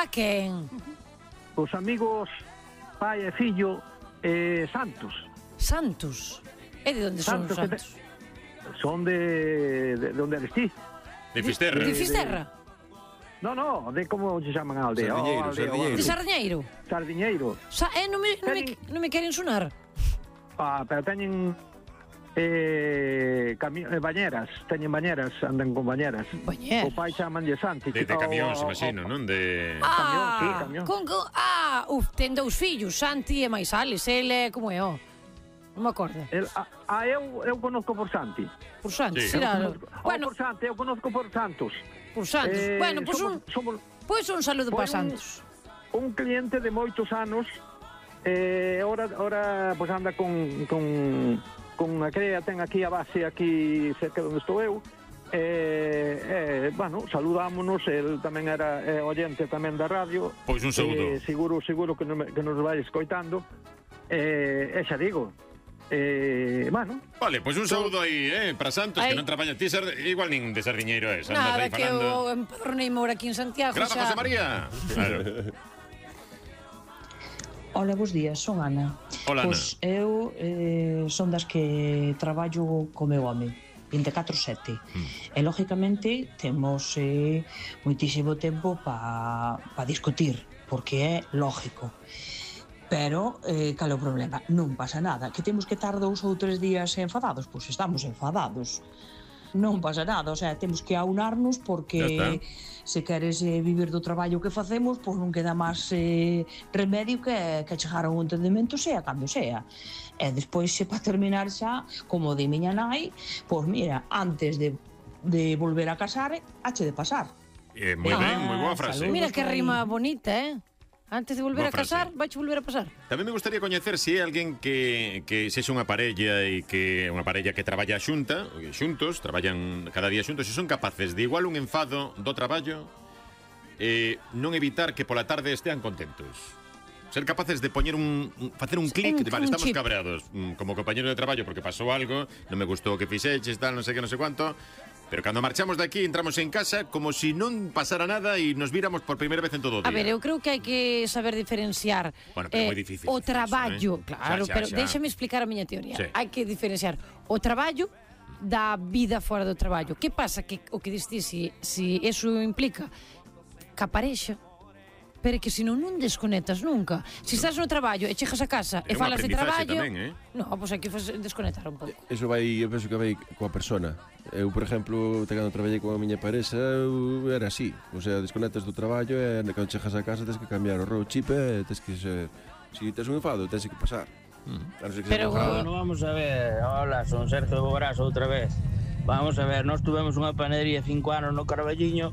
A quen? Os amigos pai e fillo Santos. Santos? E de onde son os Santos? Son de onde eres ti. De Fisterra. De Fisterra? No, de como se chaman a aldea. Sardiñeiro. De Sardiñeiro? Sardiñeiro. Non me queren sonar. Pero teñen bañeras, andan con bañeras. Bañeras? O pai chamanlle Santi. De camións, imagino, non? De... Camión. Ten dous fillos, Santi e máis Alex. Ele, como é, Non me acordo. Eu conozco por Santi. Por Santos, Sí. será. Bueno, por Santi, eu conozco por Santos. por Santos. Bueno, pois un saludo para Santos. Un cliente de moitos anos, ahora pues anda con a crea, ten aquí a base aquí cerca de onde estou eu. Bueno, saludámonos, el tamén era oyente tamén da radio. Pois un saúdo. Seguro que nos vai escoitando. Xa digo, bueno. Vale, pois un saúdo aí, para Santos, que non traballa ti, igual nin de Sardiñeiro es. Nada, que eu empadronei mora aquí en Santiago. Gracias, José María. Claro. Hola, bos días, son Ana. Hola, Ana. Pois eu son das que traballo co meu home 24/7 e lógicamente temos moitísimo tempo para discutir, porque é lógico. Pero, cal é o problema? Non pasa nada. Que temos que estar 2 ou 3 días enfadados? Pois estamos enfadados. Non pasa nada, o sea, temos que aunarnos porque se queres vivir do traballo que facemos, pois non queda máis remedio que chegar a un entendemento, sea cando sea. E despois, para terminar xa, como di miña nai, pois mira, antes de volver a casar, hache de pasar. Moi ben, moi boa frase. Mira que rima bonita, Antes de volver a casar, vais volver a pasar. Tamén me gustaría coñecer se é alguén que sexa unha parella e que unha parella que traballa xuntos, traballan cada día xuntos, e son capaces de igual un enfado do traballo non evitar que pola tarde estean contentos. Ser capaces de poñer facer un clic de, vale, estamos cabreados como compañero de traballo porque pasou algo, non me gustou o que fixeches, tal, non sei que, non sei cuánto. Pero cando marchamos de aquí, entramos en casa como si non pasara nada e nos víramos por primeira vez en todo o día. A ver, eu creo que hai que saber diferenciar bueno, pero moi difícil o traballo, eso, claro, pero déxame explicar a miña teoría. Sí. Hai que diferenciar o traballo da vida fora do traballo. Que pasa? Que o que diste, si eso implica que a parexa, pero que se non desconectas nunca. Se estás no traballo e chegas a casa e falas de traballo, tamén, non, pois hai que desconectar un pouco. Eso vai, eu penso que vai coa persona. Eu, por exemplo, cando traballei con a miña parexa, eu era así. O sea, desconectas do traballo e cando chegas a casa tens que cambiar o chip e tens que ser... Se tes un enfado, tens que pasar. Pero bueno, vamos a ver. Hola, son Sergio Bobrazo outra vez. Vamos a ver, nós tuvemos unha panadería 5 anos no Carballiño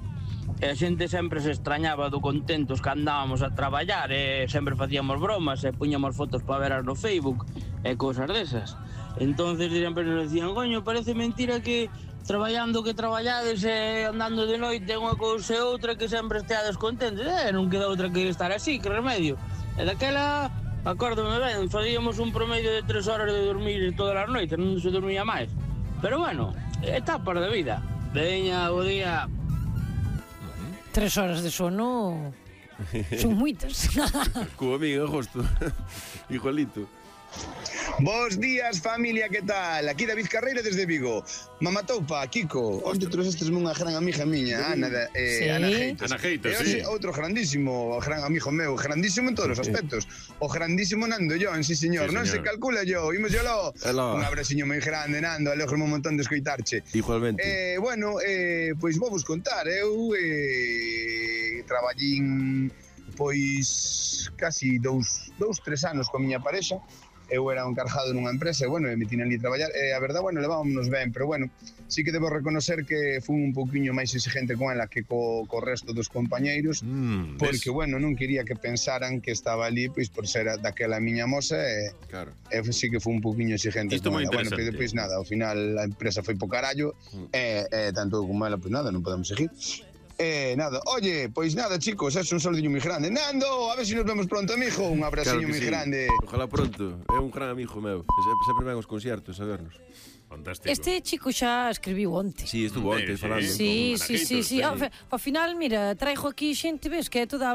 e a xente sempre se extrañaba do contentos que andábamos a traballar e sempre facíamos bromas e puñamos fotos para veras no Facebook e cousas desas. Entonces sempre nos decían, coño, parece mentira que traballando que traballades e andando de noite unha cousa e outra que sempre esteades contentos. Non queda outra que estar así, que remedio. E daquela, acórdome ben, facíamos un promedio de 3 horas de dormir todas as noites, non se dormía máis. Pero bueno, etapas de vida. Veña, bo día. 3 horas de sono son moitas. Como amigo, justo. Igualito. Bos días, familia, que tal? Aquí David Carreira desde Vigo. Mamatoupa, Kiko. Onde trouxestes unha gran amiga miña, Ana Geitos. Ana Geitos, sí. Outro grandísimo, gran amigo meu, grandísimo en todos os aspectos. O grandísimo Nando Jon, sí, señor. Sí, non se calcula yo, imos yolo. Un abraciño moi grande, Nando, alegro un montón de escoitarche. Igualmente. Bueno, pois vou vos contar, eu traballín pois casi 2-3 anos coa miña parexa. Eu era un encargado nunha empresa e, bueno, me tiñan ali a traballar e a verdad, bueno, levámonos ben, pero, bueno, sí que debo reconocer que fui un pouquiño máis exigente con ela que co resto dos compañeiros, porque, bueno, non quería que pensaran que estaba ali pois por ser daquela miña moza e, claro. Sí que fui un pouquiño exigente Isto con moi ela. Bueno, interesante. pero depois nada, ao final a empresa foi po carallo e tanto eu como ela, pois nada, non podemos seguir. Nada, oye, pois nada, chicos, é un saludiño moi grande. Nando, a ver se nos vemos pronto, amigo. Un abraciño moi grande. Ojalá pronto, é un gran amigo meu. Sempre ven aos conciertos a vernos. Fantástico. Este chico xa escribiu onte. Sí, estuvo onte falando. Sí. Ao final, mira, traigo aquí xente, ves, que é toda